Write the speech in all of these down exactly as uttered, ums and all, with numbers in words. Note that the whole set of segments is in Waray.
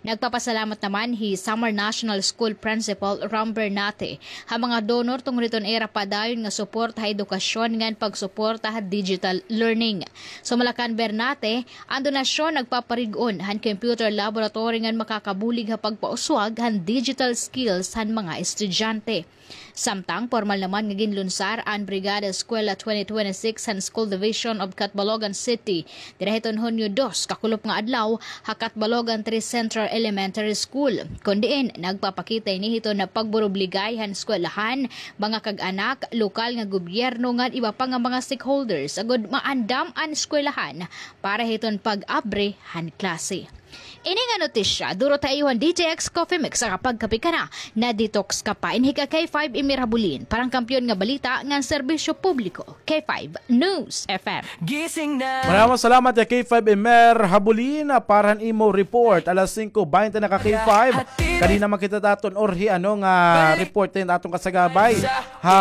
Nagpapasalamat naman hi Samar National School Principal Ram Bernate ha mga donor tungod hiton ira padayon nga suporta ha edukasyon ngan pagsuporta ha digital learning. Sumala kan Bernate, an donasyon nagpaparig-on han computer laboratory ngan makakabulig ha pagpauswag han digital skills han mga estudyante. Samtang pormal naman nga ginlunsar an Brigada Eskwela twenty twenty-six han School Division of Catbalogan City dira hiton Hunyo dos, kakulop nga adlaw, ha Catbalogan three Central Elementary School. Kon diin, nagpapakita ini hiton pagburubligay han eskwelahan, mga kag-anak, lokal nga gobyerno ngan iba pa nga mga stakeholders agod maandam an eskwelahan para hiton pag-abri han klase. Ini nga notisya, duro ta iyo han D T X Coffee Mix, sa kapagkape ka na, na-detox ka pa. Ini ka K five Emer Habulin, parang kampiyon nga balita ngan serbisyo publiko. K five News F M. Gising na. Maraming salamat ya K five Emer Habulin para han imo report. Alas singko baynte na ka K five. Kadi naman kita ta aton orhi, ano nga report din aton kasagabay. Ha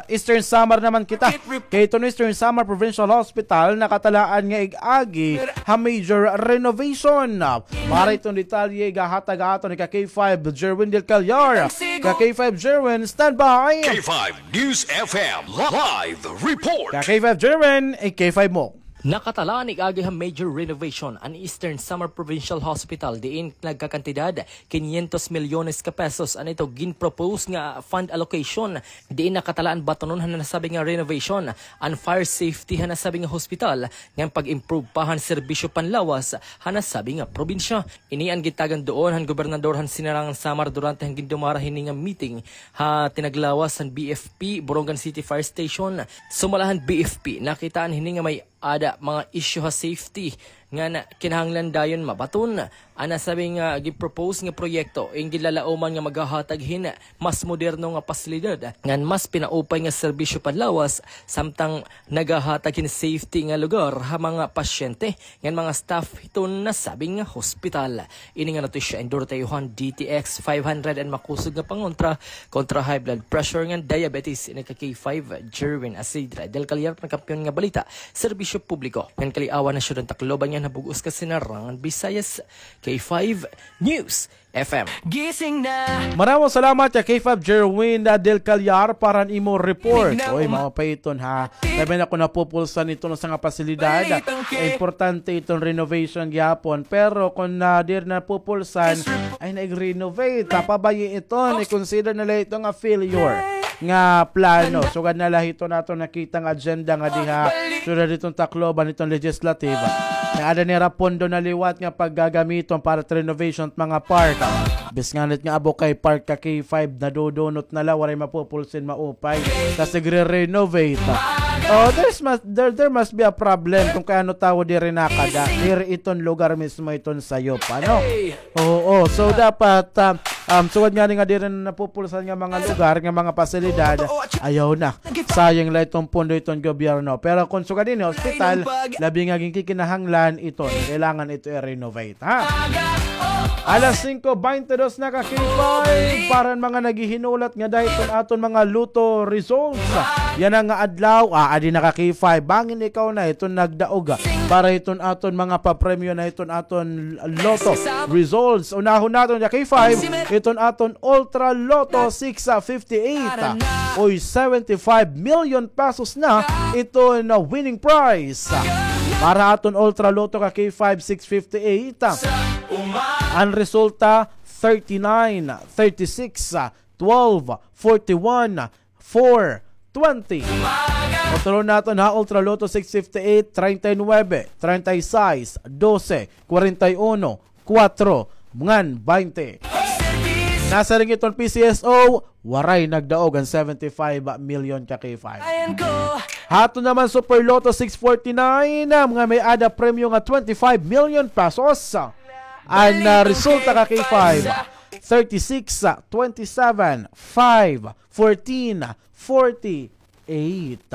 Eastern Samar naman kita. Kay iton Eastern Samar Provincial Hospital nakatalaan nga ig-agi ha major renovation. Para iton detalye, igahatag aton ni ka K five Jerwin Del Callar. Ka K five Jerwin, standby. K five News F M live report. Ka K five Jerwin, eh, K five mo. Nakatalaan ig-agi ha major renovation an Eastern Samar Provincial Hospital, diin nagkakantidad kinyentos milyones ka pesos an ito ginpropose nga fund allocation. Diin nakatalaan batonon han nasabi nga renovation an fire safety han nasabi nga hospital ngan pag-improve pa han serbisyo panlawas han nasabi nga probinsya. Ini an gitagan duon han gobernador han Sinirangan Samar durante han gindumara hini nga meeting ha tinaglawas han B F P Borongan City Fire Station. Sumala han B F P, nakitaan hini nga may ada mga isyu ha safety nga na, kinahanglan dayon mabaton. An nasabi nga gipropose nga proyekto, in ginlalauman nga maghahatag hin mas moderno nga pasilidad ngan mas pinaupay nga serbisyo panlawas, samtang nagahatag hin safety nga lugar ha mga pasyente ngan mga staff hiton nasabi nga hospital. Ini nga notisya endorse ta iyo han D T X five hundred, an makusog nga pangontra kontra high blood pressure ngan diabetes. Ini ka K five Jerwin Asidra Del Callar, parang kampiyon nga balita, serbisyo publiko ngan kaliawan han syudad han Tacloban ngan ha bug-os nga Sinirangan Visayas. K five News F M. Gising na. Maraming salamat ya K five Jerwin Del Callar para han imo report. Oy, mao pa iton ha. Labi na kon napupulsan iton usa nga pasilidad. Importante iton renovation gihapon. Pero kon, ah, diri napupulsan, ay na ig-renovate. Pabayi iton, i-consider na la ito nga failure nga plano. Sugad na la hiton aton nakita nga agenda nga diha, sugad hiton Tacloban, hiton legislative. Nga ada nira pondo na liwat nga paggagamiton para renovation mga park. Bis nganit nga Abukay Park ka K five, nadudunot na la, waray mapupulsin maupay. Tas igre-renovate. Oh, there's mas-, there, there must be a problem kung kay ano tawo diri nakada. Diri iton lugar mismo iton sayop, ano? Oo, so dapat, ah, um, sugad ngani nga diri na napupulsan nga mga lugar, nga mga pasilidad, ayaw na. Sayang la iton pondo iton gobyerno. Pero kung sugad ini, hospital, labi nga ginkikinahanglan iton. Kailangan ito i-renovate, ha? Alas singko baynte dos na ka K five, para han mga naghihinulat ngada hiton aton mga lotto results. Yana nga adlaw, ah, adi na ka K five. Bangin ikaw na iton nagdaog, ah, para hiton aton mga papremyo na hiton aton lotto results. Unahon naton ya K five, iton aton Ultra Lotto six fifty-eight. Oy, seventy-five million pesos na iton winning prize. Para aton Ultra Lotto ka K five six fifty-eight, an resulta, thirty-nine, thirty-six, twelve, forty-one, four, twenty. Kontrolon naton ha Ultra Lotto six fifty-eight, treinta y nueve, treinta y seis, doce, cuarenta y uno, kuwatro, ngan baynte. Nasiring iton P C S O, waray nagdaog an seventy-five million ka K five. Ha aton naman Super Lotto six forty-nine, nga may-ada premyo nga twenty-five million pesos. An, ah, resulta ka K five, thirty-six, twenty-seven, five, fourteen, forty-eight.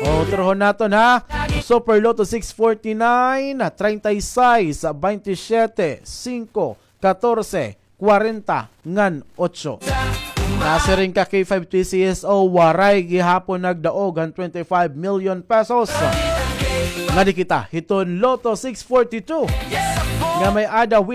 O, turhon naton, ha. Super Lotto six forty-nine, treinta y seis, veintisiete, cinco, catorce, cuarenta, ngan ocho. Nasiring ka K five P C S O, waray gihapon nagdaog an twenty-five million pesos. Ngadi kita hiton Lotto six forty-two, nga may-ada winning